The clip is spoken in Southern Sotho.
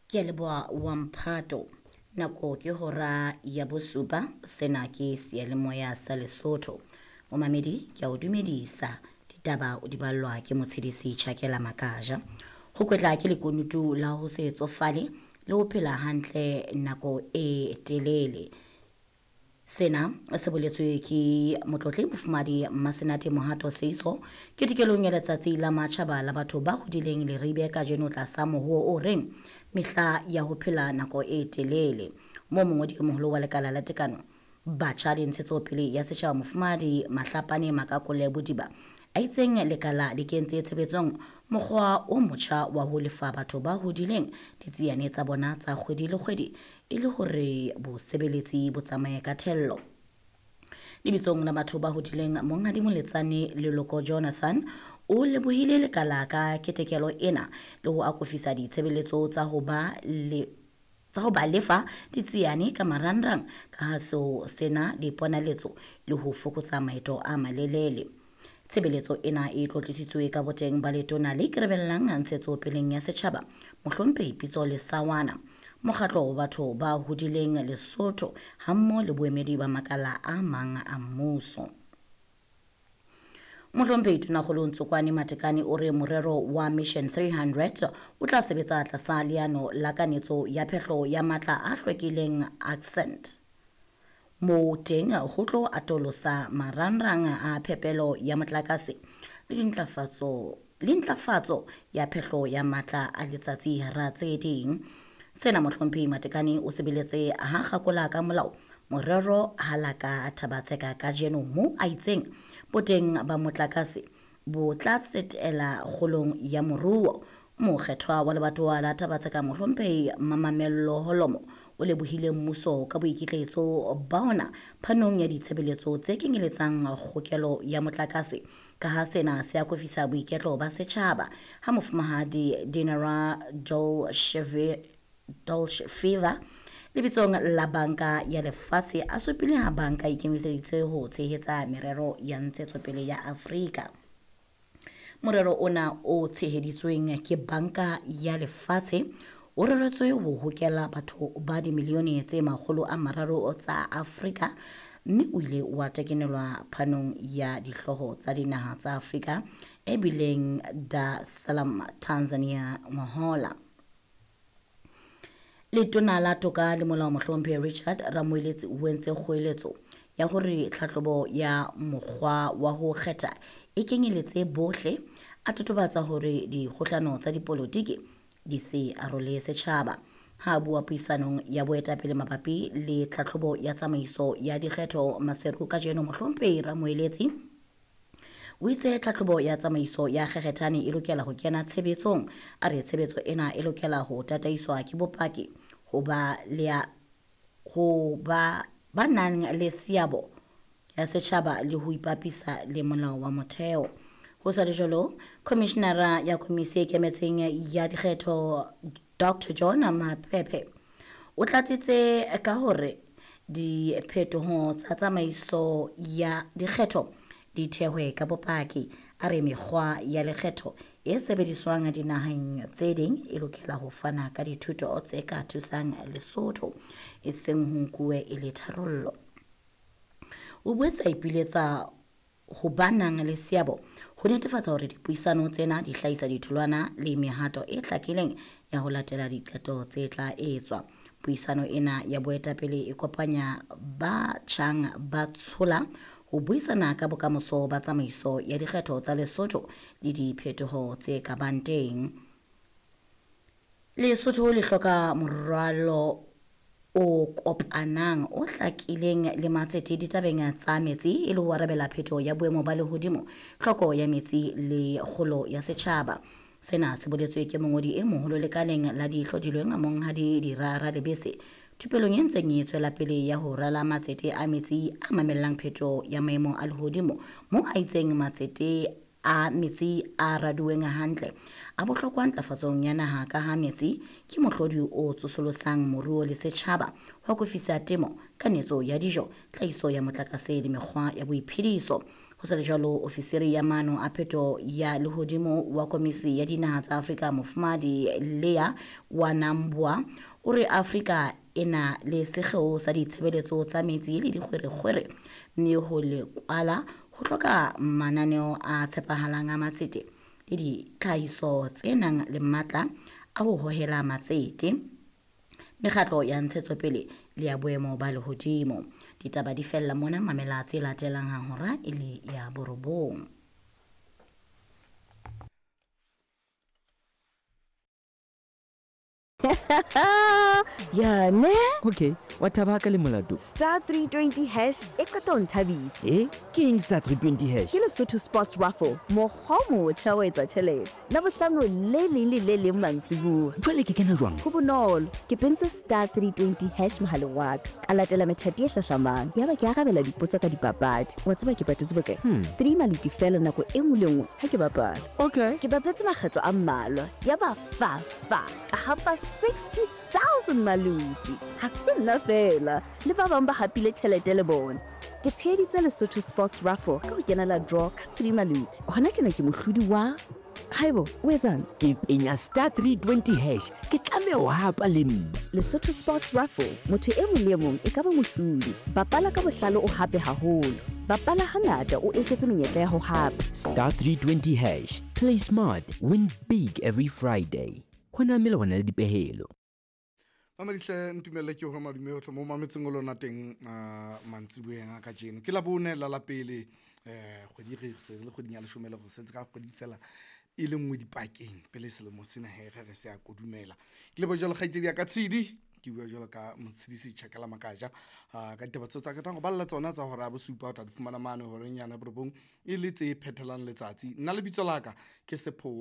Ke a leboha wa mphato. Nako ke hora ya bosupa, sena ke seyalemoya sa Lesotho. Momamedi, ke a o dumedisa. Ditaba o di ballwa ke motshedisi Tjhakela Makaja. Ho kwetla ke lekunutu la ho se tsofale le ho phela hantle nako e telele. Sena se boletswe ke motlotli mofumahadi Mmasenate Mohato Seiso ketekelong ya letsatsi la matjhaba la batho ba hodileng Leribe kajeno tlasa mohoo o reng mehla ya ho phela nako e telele. Moo mongodi e moholo wa lekala la tekano batjha le ntshetsopele ya setjhaba mofumahadi Mahlapane Makakole Bodiba a itseng lekala le kentse tshebetsong mokgwa o motjha wa ho lefa batho ba hodileng ditsiane tsa bona tsa kgwedi le kgwedi e le hore bosebeletsi bo tsamaye ka thello. Lebitsong la batho ba hodileng Monghadi Moletsane Leloko Jonathan o lebohile lekala ka ketekelo ena le ho akofisa ditshebeletso tsa ho ba le tsa ho ba lefa ditsiane ka marangrang ka ha seo sena le ponaletso le ho fokotsa maeto a malelele. Tshebeletso ena e tlotlisitswe ka boteng ba letona le ikarabellang ntshetsopeleng ya setjhaba mohlomphehi Pitso Lesawana, mokgatlo wa batho ba hodileng Lesotho hammoho le boemedi ba makala a mang a mmuso. Mohlomphehi Tonakgolo Ntsokwane Matekane o re morero wa Mission 300 o tla sebetsa tlasa leano la kanetso ya phehlo ya matla a hlwekileng Accent. Moo teng ho tlo atolosa marangrang a phepelo ya motlakase le dintlafatso le ntlafatso ya phehlo ya matla a letsatsi hara tse ding. Sena mohlomphehi Matekane o sebeletse ha kgakola ka molao morero ha la ka Thabatseka kajeno mo a itseng boteng ba motlakase bo tla tsetela kgolong ya moruo. Mokgethwa wa lebatowa la Thabatseka mohlomphehi Mamamello Holomo o lebohile mmuso ka boikitlaetso ba ona phanong ya ditshebeletso tse kenyeletsang kgokelo ya motlakase ka ha sena se akofisa boiketlo ba setjhaba. Ha mofumahadi Dinara Dolce Fever lebitsong la banka ya lefatshe a supile ha banka e ikemiseditse ho tshehetsa merero ya ntshetsopele ya Afrika. Morero ona o tsheheditsweng ke banka ya lefatshe o reretswe ho hokela batho ba dimilione tse 300 tsa Afrika mme o ile wa tekenelwa phanong ya dihlooho tsa dinaha tsa Afrika e bileng Dar es Salaam, Tanzania ngwahola. Letona la toka le molao mohlomphehi Richard Ramoeletsi o entse kgoeletso ya hore tlhahlobo ya mokgwa wa ho kgetha e kenyeletse bohle, a totobatsa hore dikgohlano tsa dipolotiki di se arole setjhaba. Ha a bua puisanong ya boetapele mabapi le tlhahlobo ya tsamaiso ya dikgetho Maseru kajeno mohlomphehi Ramoeletsi o itse tlhahlobo ya tsamaiso ya kgekgethane e lokela ho kena tshebetsong. A re tshebetso ena e lokela ho tataiswa ke bopaki ho ba le ho ba ba nang le seabo ya setjhaba le ho ipapisa le molao wa motheo. Ho sa le jwalo, Commissionera ya Komisi e Ikemetseng ya Dikgetho Dr John Maphephe o tlatsitse ka hore diphetoho tsa tsamaiso ya dikgetho di thehwe ka bopaki. A re mekgwa ya lekgetho e sebediswang dinaheng tse ding e lokela ho fana ka dithuto tse ka thusang Lesotho, e seng ho nkuwe e le tharollo. O boetse a ipiletsa ho ba nang le seabo ho netefatsa hore dipuisano tsena di hlahisa ditholwana le mehato e hlakileng ya ho latela diqeto tse tla etswa. Puisano ena ya boetapele e kopanya ba tjhang ba tshola ho buisana ka bokamoso ba tsamaiso ya dikgetho tsa Lesotho le diphetoho tse ka bang teng. Lesotho le hloka moralo o kopanang o hlakileng le matsete ditabeng tsa metsi e le ho arabela phetoho ya boemo ba lehodimo, tlhoko ya metsi le kgolo ya setjhaba. Sena se boletswe ke mongodi e moholo lekaleng la dihlodilweng Monghadi Dira Ralebese thupelong e ntseng e tswela pele ya ho rala matsete a metsi a mamellang phetoho ya maemo a lehodimo, mo a itseng matsete a metsi a raduweng hantle a bohlokwa ntlafatsong ya naha ka ha metsi ke mohlodi o tsosolosang moruo le setjhaba, ho akofisa temo, kanetso ya dijo, tlhahiso ya motlakase le mekgwa ya boiphediso. Ho sa le jwalo, ofisiri ya maano a pheto ya lehodimo wa Komisi ya Dinaha tsa Afrika Mofumahadi Leah Wanambwa o re Afrika e na le sekgeo sa ditshebeletso tsa metsi le dikgwerekgwere mme ho le kwala ho hloka mananeo a tshepahalang a matsete le ditlhahiso tse nang le matla a ho hohela matsete, mekgatlo ya ntshetsopele le ya boemo ba lehodimo. Ditaba di fella mona, mamela tse latelang ha hora e le ya borobong. Ya ne? Okay, wa thaba ka le molato. Star 320 hash e qeta ho nthabisa. E ke eng star 320 hash? Ke Lesotho Sports Raffle, mokgwa o motjha wa etsa tjhelete. Labohlano le leng le le leng mantsibuya. Jwale ke kena jwang? Ho bonolo, ke pentse star 320 hash mohaleng wa ka. Ka latela methati e hlahlamang. Yaba ke arabela dipotso ka dipapadi. Wa tseba ke patetse bokae? 3 maluti fela nako e nngwe le nngwe ha ke bapala. Okay. Ke bapetse makgetlo a mmalwa. Yaba fa fa ka hapa 60,000 maluti. Ha se nna fela, le ba bang ba hapile tjhelete le bona. Ke tsheheditse Lesotho Sports Raffle ka ho kenela draw ka 3 maluti. Hona tjena ke mohlodi wa Haibo, o etsang? Ke penya star 320 hash, ke tlameha ho hapa le nna. Lesotho Sports Raffle, motho e mong le e mong e ka ba mohlodi. Bapala ka bohlale o hape haholo. Bapala hangata o eketse menyetla ya ho hapa. Star 320 hash, play smart, win big every Friday. Ho na melawana le dipehelo. Mamedihle, ntumelle ke hore madume ohle mo mametseng o lona teng mantsiboyeng a kajeno. Ke Labone la la pele kgwedi re se re le kgweding ya leshome le re setse ka kgwedi fela e le nngwe dipakeng pele selemo sena he re re se a kodumela. Ke leboha jwalo kgaitsedi ya ka Tshidi, ke bua jwalo ka Motshidisi Tjhakela Makaja ka ditaba tseo tsa ketang ho balla tsona tsa hora ya bosupa o tla di fumana mane horeng yana borobong e le tse phethelang letsatsi. Nna lebitso la ka ke Sephowa.